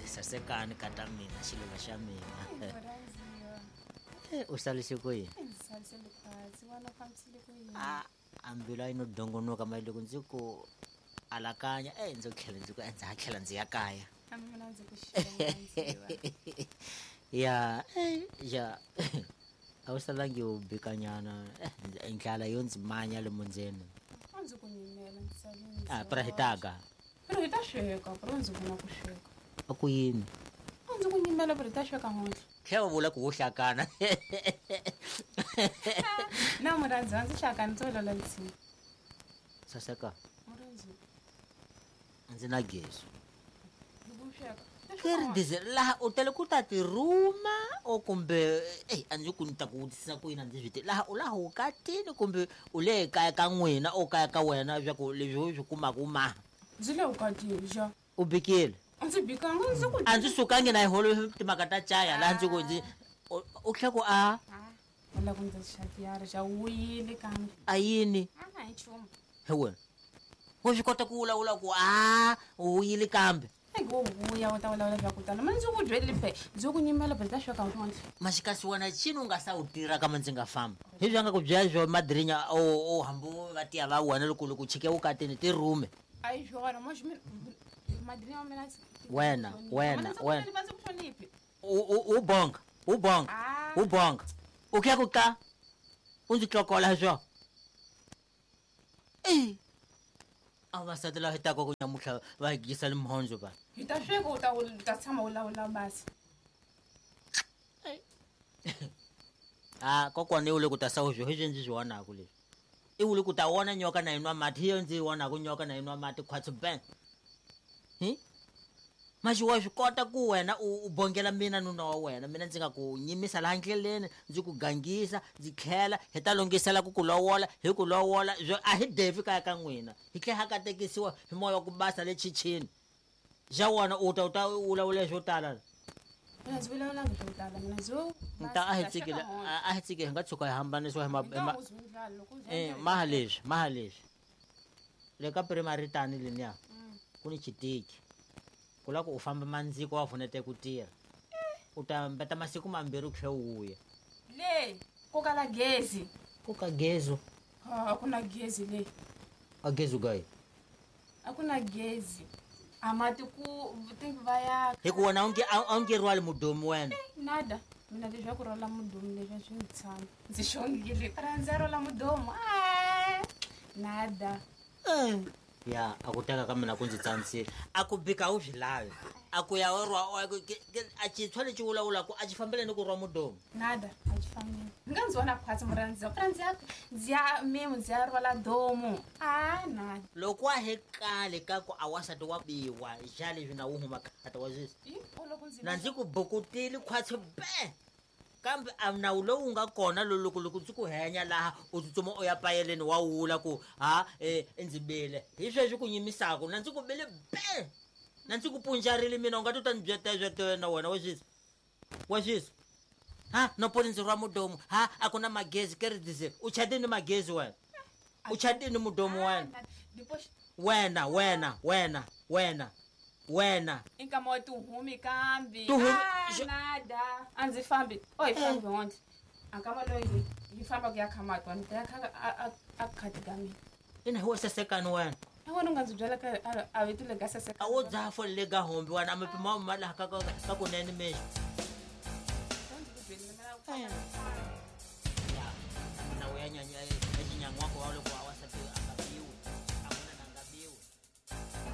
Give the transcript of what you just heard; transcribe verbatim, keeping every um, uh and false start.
Sasekani kata mina xiluva xa mina. U salise ku yini? A a mbilu a yi no dongonoka mali loko ndzi ku alakanya e ndzo tlhela ndzi ku ndza ha tlhela ndzi ya kaya. Ya ya a wu salangi u bikanyana ndlala yo ndzi manya lomu ndzeni. A ndzi ku nyimela ndzi sale ndzi A pra hi taga. Pero hi ta sweka, pero ndzi vona ku sweka. A ku yini? A ndzi ku nyimela pero hi ta sweka ngontle. Tlhela u vula ku wo hlakana. Na murhandzi a ndzi hlakani ndzo lola ntsini. Saseka. Murhandzi. A ndzi na gezi. Hi ku sweka. Leri diesel laha u tele ku ta tirhuma o kumbe eh a ndzi ku ni ta ku vutisa ku yini a ndzi swi tivi laha u laha vukatini kumbe u le kaya ka n'wina o kaya ka wena swa ku leswi u swi kumaka u maha. Ndzi le vukatini xa. U bikile? A ndzi bikanga ndzi ku A ndzi sukangi na holo timhaka ta caya laha ndzi ku ndzi u tlhela ku a U lava ku ndzi xatiyara xa wuyile kambe. A yini? A hi nchumu. He wena. U swi kota ku vulavula ku a u wuyile kambe. Ai wo vuya u ta vulavula swa ku tala. Mina ndzi ku byelile phe, ndzi ku nyimela phe ta sweka ntlhontlho. Maxikasi wena cini u nga sa wu tirha kama ndzi nga fambi. Hi swi nga ku byela swo madrinya o o hambi va tiya va wena loko loko chike vukatini ti rhume. A hi swona moxi mina madrinya wa mina Wena, wena, wena. Ndzi ku hloniphi. U u u bonga, u bonga. U bonga. U khe ku ka u ndzi tlokola swo. Eh. A vasati lava hi taka ku nyamutlha va gisa le mhondzo va. Hi ta sweka u ta u ta tshama u lawula basi. Ah kokwana i wule ku ta sawu swo hi swi ndzi swi vonaka leswi. I wule ku ta vona nyoka na yi nwa mati hi yo ndzi yi vonaka nyoka na yi nwa mati khwatsi ben. Hi? Maxi wa swi kota ku wena u u bongela mina nuna wa wena mina ndzi nga ku nyimisa laha ndleleni ndzi ku gangisa ndzi tlhela hi ta lunghisela ku ku lovola hi ku lovola a hi devi kaya ka n'wina hi tlhela ha katekisiwa hi moya wa ku basa le chichini xa wona u ta u ta vulavula swo tala. Mina ndzi vulavulanga swo tala mina ndzi Nta a hi tsikile a hi tsikile hi nga tshuka hi hambanisiwa hi ma eh maha leswi maha leswi le ka primary tani leniya ku ni xitiki ku lava ku u famba mandziko wa pfunete ku tirha u ta mbeta masiku mambirhi u tlhela u vuya. Le ku kala gezi. Ku ka gezi? A ku na gezi le. A gezi gayi? A ku na gezi. A mati ku va ya hi ku wena a wu nge a wu nge rhwali mudomu wena. Nada mina leswi ku rhwala mudomu leswi swi ndzi tshama ndzi xongile ra ndzi rhwala mudomu a nada. Ya a ku teka ka mina ku ndzi tsanisile a ku bika u swi lavi a ku ya rwa a xintshwa lexi vulavulaka a xi fambeleni ku rwa mudomu. Nada a xi fambeli ni nga ndzi vona khwatsi murhandzi ra ndzi ya ndzi ya mimi ndzi ya rhwala domu a nada. Loko wa he kale ka ku a wasati wa biwa xa leswi na wu huma khata wa sweswi na ndzi ku bukutile khwatsi be kambe a nawu lowu nga kona loko loko ndzi ku henya laha u tsutsuma u ya payeleni wa wula ku ha eh ndzi bile hi sweswi ku nyimisaka na ndzi ku bile be na ndzi ku punjarile mina u nga to ta ni byeta swa na wena wa sweswi wa sweswi ha no poni ndzi rwa mudomu ha a ku na magezi ke ri diesel u chatini magezi wena u chatini mudomu wena wena wena wena wena wena i nkama wa tihumi kambe tihumi nada a ndzi fambi o hi fambi hontle a nkama loyi hi famba ku ya kha mati ni ta ya kha a a khati ka mina. Ina hi wo sasekani wena a wena u nga ndzi byela ka a vito le ka saseka a wo dzaha fole le ka hombi wena a mipimo ma laha ka ka kunene mexo.